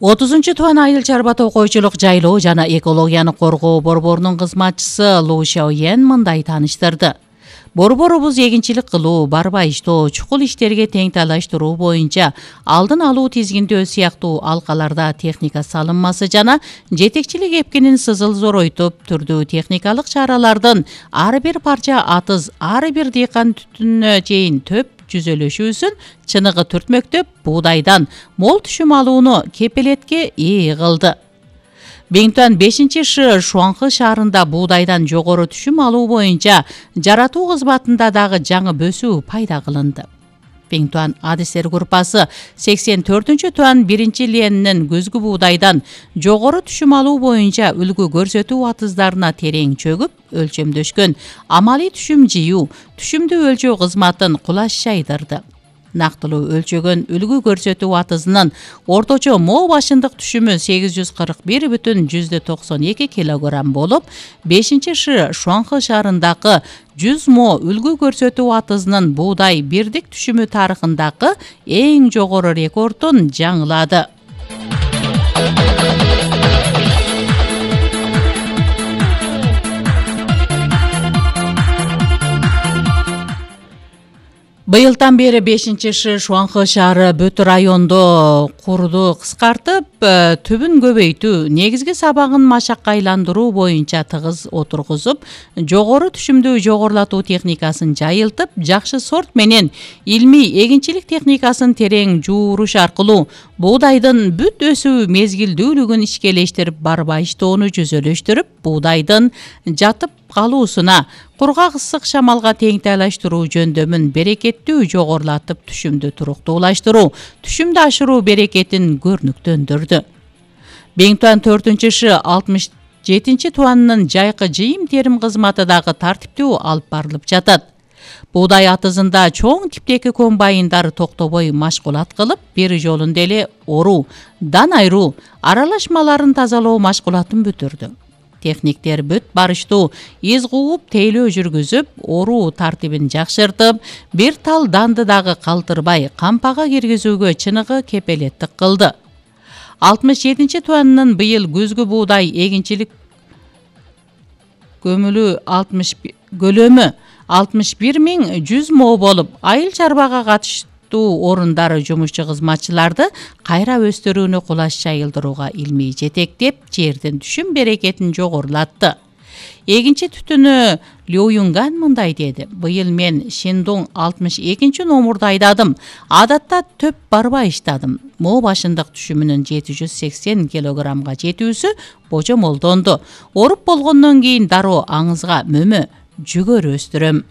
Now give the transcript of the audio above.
30-туан Айыл чарба токойчулук жайлоо жана экологияны коргоо борборунун кызматчысы Лу Шаоян мындай тааныштырды. Борборубуз эгинчилик кылуу, барба иштөө, чукул иштерге тең талаштыруу боюнча алдын алуу тизгиндөө сыяктуу алкаларда техника салынмасы жана жетекчилик эпкинин сызыл зоройтуп, түрдүү техникалык чаралардын ар бир парча атыз, ар бир дыйкан түтүнүнө чейин төп жүзөлөшүүсүн чыныгы түртмөктөп, буудайдан мол түшүм алууну кепелетке ээ кылды. Бингтуан 5-Ш Шуанхы шаарында буудайдан жогору түшүм алуу боюнча жаратуу кызматында дагы жаңы бөсүү пайда кылынды. Бингтуан адистер группасы 84-туан 1-ленинин күзгү буудайдан жогору түшүм алуу боюнча үлгү көрсөтүү атыздарына терең чөгүп, өлчөмдөшкөн амалий түшүм жыйуу, түшүмдү өлчөө кызматын кулаш жайдырды. Нактылуу өлчөгөн үлгү көрсөтүү атызынын орточо мо башындык түшүмү 841,92 килограмм болуп, 5-Ш Шуанхы шаарындагы 100 мо үлгү көрсөтүү атызынын буудай бирдик түшүмү тарыхындагы эң жогору рекордун жаңылады. Быйылдан бери 5-Ш Шуанхы шаары бүт райондо курду кыскартып, түбүн көбөйтүү, негизги сабагын машакка айландыруу боюнча тыгыз отургузуп, жогору түшүмдүү жогорулатуу техникасын жайылтып, жакшы сорт менен илмий эгинчилик техникасын терең жууруш аркылуу буудайдын бүт өсүү мезгилдүүлүгүн ишкелештирип, барба иштоону жүзөлөштүрүп, буудайдын жатып калуусуна, кургак ысык шамалга тең талаштыруу жөндөмүн берекеттүү жогорулатып, түшүмдү туруктуулаштыруу, түшүмдү ашыруу берекетин көрнүктөндүрдү. Бингтуан 4-Ш 67-туанынын жайкы жыйым терим кызматы дагы тартиптүү алып барылып жатат. Буудай атызында чоң типтеги комбайндар токтобой машкулат кылып, бир жолунда эле оруу, дан айыруу, аралашмаларын тазалоо машкулатын бүтүрдү. Техниктер бүт барыштуу из кууп, тейлөө жүргүзүп, оруу тартибин жакшыртып, бир тал данды дагы калтырбай кампага киргизүүгө чыныгы кепелеттик кылды. 67-туанынын быйыл күзгү буудай эгинчилик көлөмү 61.100 мо болуп, айыл чарбага катыштуу орундары жумушчу кызматчыларды кайра өстүрүүнү кулаш жайылдырууга илмий жетектеп, жердин түшүм берекетин жогорулатты. Эгинчи түтүнү Лю Юнган мындай деди: быйыл мен Шиндун 62-номурду айдадым. Адатта төп барба иштадым. Мо башындык түшүмүнүн 780 килограммга жетүүсү божомолдонду. Оруп болгондон кийин дароо аңызга мөмө, жүгөр өстүрөм.